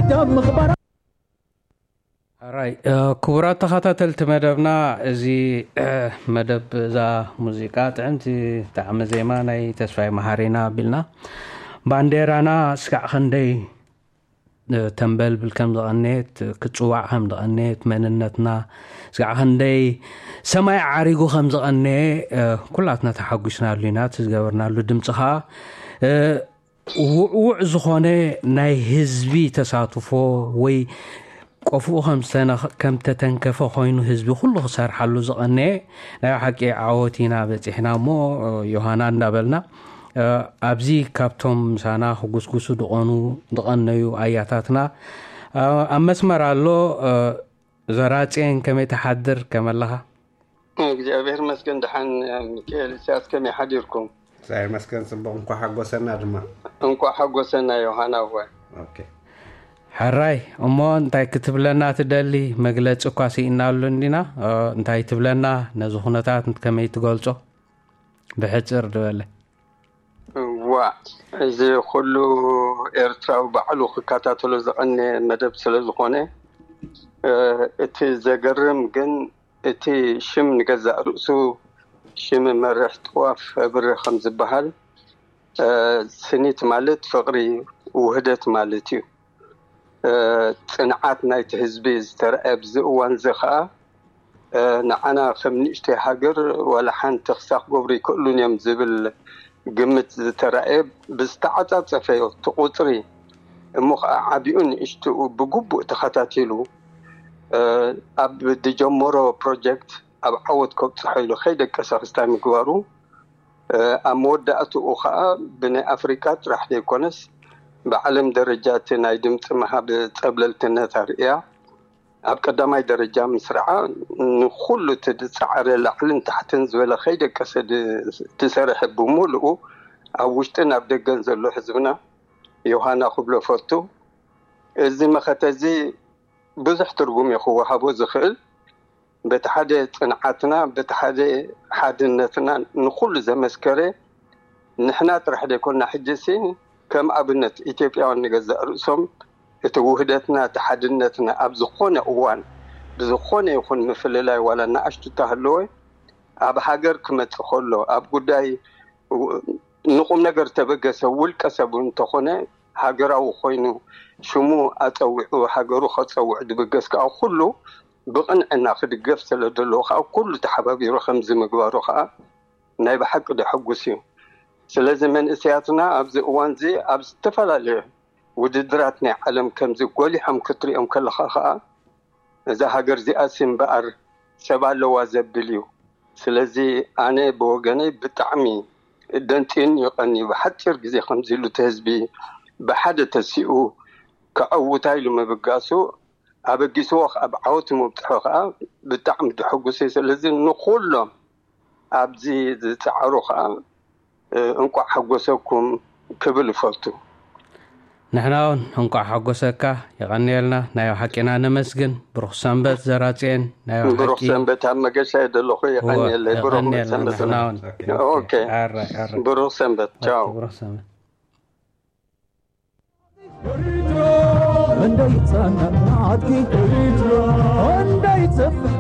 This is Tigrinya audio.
ምኽባራ ኣራይ ክቡራት ተኸታተልቲ መደብና፣ እዚ መደብ እዛ ሙዚቃ ጥዕምቲ ጣዕሚ ዜማ ናይ ተስፋይ መሃሪና ኣቢልና፣ ባንዴራና ስጋዕ ክንደይ ተንበልብል ከም ዝቐነየት፣ ክጽዋዕ ከም ዝቐነየት፣ መንነትና ስጋዕ ክንደይ ሰማይ ዓሪጉ ከም ዝቐነየ ኩላትና ተሓጒስናሉ ኢና። እቲ ዝገበርናሉ ድምፂ ኸዓ ውዕውዕ ዝኾነ ናይ ህዝቢ ተሳትፎ ወይ ቆፍኡ ከም ዝተተንከፈ ኮይኑ ህዝቢ ኩሉ ክሰርሓሉ ዝቐነየ ናይ ሓቂ ዓወት ኢና በፂሕና እሞ፣ ዮሃና እንዳበልና፣ ኣብዚ ካብቶም ምሳና ክጉስጉሱ ድቐኑ ድቐነዩ ኣያታትና ኣብ መስመር ኣሎ። ዘራፅየን ከመይ ትሓድር ከመለኻ? እግዚኣብሔር መስገን ደሓን። ሚካኤል፣ እስያስ ከመይ ሓዲርኩም? እግዚኣብሔር መስገን ጽቡቕ። እንኳዕ ሓጎሰና ድማ። እንኳዕ ሓጎሰና ዮሃና። እወ። ኦኬ። ሕራይ እሞ እንታይ ክትብለና ትደሊ? መግለጺ እኳ ስኢናሉ እንዲና። እንታይ ትብለና? ነዚ ኩነታት ከመይ ትገልጾ? ብሕጽር ድበለ። ዋ፣ እዚ ኩሉ ኤርትራዊ ባዕሉ ክከታተሎ ዝቐነ መደብ ስለ ዝኾነ፣ እቲ ዘገርም ግን እቲ ሽም ንገዛእ ርእሱ ሽም መርሕ ጥዋፍ ኣብሪ ከም ዝበሃል፣ ስኒት ማለት ፍቕሪ፣ ውህደት ማለት እዩ። ጽንዓት ናይቲ ህዝቢ ዝተረኣየ ኣብዚ እዋን እዚ ኸኣ፣ ንዓና ከም ንእሽተይ ሃገር ዋላ ሓንቲ ክሳብ ክገብሩ ይክእሉን እዮም ዝብል ግምት ዝተራእየ ብዝተዓጻጸፈ እቲ ቁጽሪ፣ እሞ ኸዓ ዓቢኡ ንእሽትኡ ብግቡእ ተኸታቲሉ፣ ኣብ ዝጀመሮ ፕሮጀክት ኣብ ዓወት ከብጽሖ ኢሉ ከይደቀሰ ክስታይ ምግባሩ፣ ኣብ መወዳእትኡ ኸዓ ብናይ ኣፍሪቃ ጥራሕ ዘይኮነስ ብዓለም ደረጃ እቲ ናይ ድምፂ ምሃብ ጸብለልትነት ኣርእያ ኣብ ቀዳማይ ደረጃ ምስራዓ ንኹሉ እቲ ዝጸዓረ ላዕልን ታሕትን ዝበለ ከይደቀሰ ዝሰርሐ ብምሉኡ ኣብ ውሽጥን ኣብ ደገን ዘሎ ህዝብና ዮሃና ክብሎ ፈቱ። እዚ መኸተ እዚ ብዙሕ ትርጉም እዩ ክወሃቦ ዝኽእል። በቲ ሓደ ጽንዓትና፣ በቲ ሓደ ሓድነትና ንኹሉ ዘመስከረ ንሕና ጥራሕ ዘይኮና ሕጂ ሲ ከም ኣብነት ኢትዮጵያውያን ንገዛእ ርእሶም እቲ ውህደትና፣ እቲ ሓድነትና ኣብ ዝኾነ እዋን ብዝኾነ ይኹን ምፍልላይ ዋላ ንኣሽቱ እተሃለወ ኣብ ሃገር ክመጽእ ከሎ ኣብ ጉዳይ ንቁም ነገር ተበገሰ ውልቀ ሰብ እንተኾነ ሃገራዊ ኮይኑ ሽሙ ኣጸዊዑ ሃገሩ ከጸውዕ ድብገስ ከዓ ኩሉ ብቕንዕና ክድገፍ ስለ ዘለዎ ከዓ ኩሉ ተሓባቢሩ ከምዚ ምግባሩ ከዓ ናይ ብሓቂ ደሐጉስ እዩ። ስለዚ መንእሰያትና ኣብዚ እዋን እዚ ኣብ ዝተፈላለዩ ውድድራት ናይ ዓለም ከምዚ ጎሊሖም ክትሪኦም ከለኻ ከዓ እዛ ሃገር እዚኣሲ እምበኣር ሰብ ኣለዋ ዘብል እዩ። ስለዚ ኣነ ብወገነይ ብጣዕሚ ደንጽዩኒ ይቐንዩ። ብሓጺር ግዜ ከምዚ ኢሉ እቲ ህዝቢ ብሓደ ተሲኡ ከዐውታ ኢሉ ምብጋሱ ኣበጊስዎ ኣብ ዓወት ምብጽሖ ከኣ ብጣዕሚ ድሕጉስ እየ። ስለዚ ንኹሎም ኣብዚ ዝጸዓሩ ከኣ እንቋዕ ሓጎሰኩም ክብል እፈቱ። ንሕና እውን እንቋዕ ሓጎሰካ። የቐንየልና። ናይ ሓቂና ነመስግን። ብሩኽ ሰንበት ዘራጽየን። ናይ ብሩኽ ሓቂ ሰንበት ኣብ መገሻ እየ ዘለኹ። እወ፣ የቐንየለይ። ብሩኽ የቐንየልና። ሰንበት። ንሕና እውን። ኦኬ። ኣራይ፣ ኣራይ። ብሩኽ ሰንበት። ቻው። ብሩኽ ሰንበት። እንደይጸንዕ ናትኪ እንደይጽፍሕ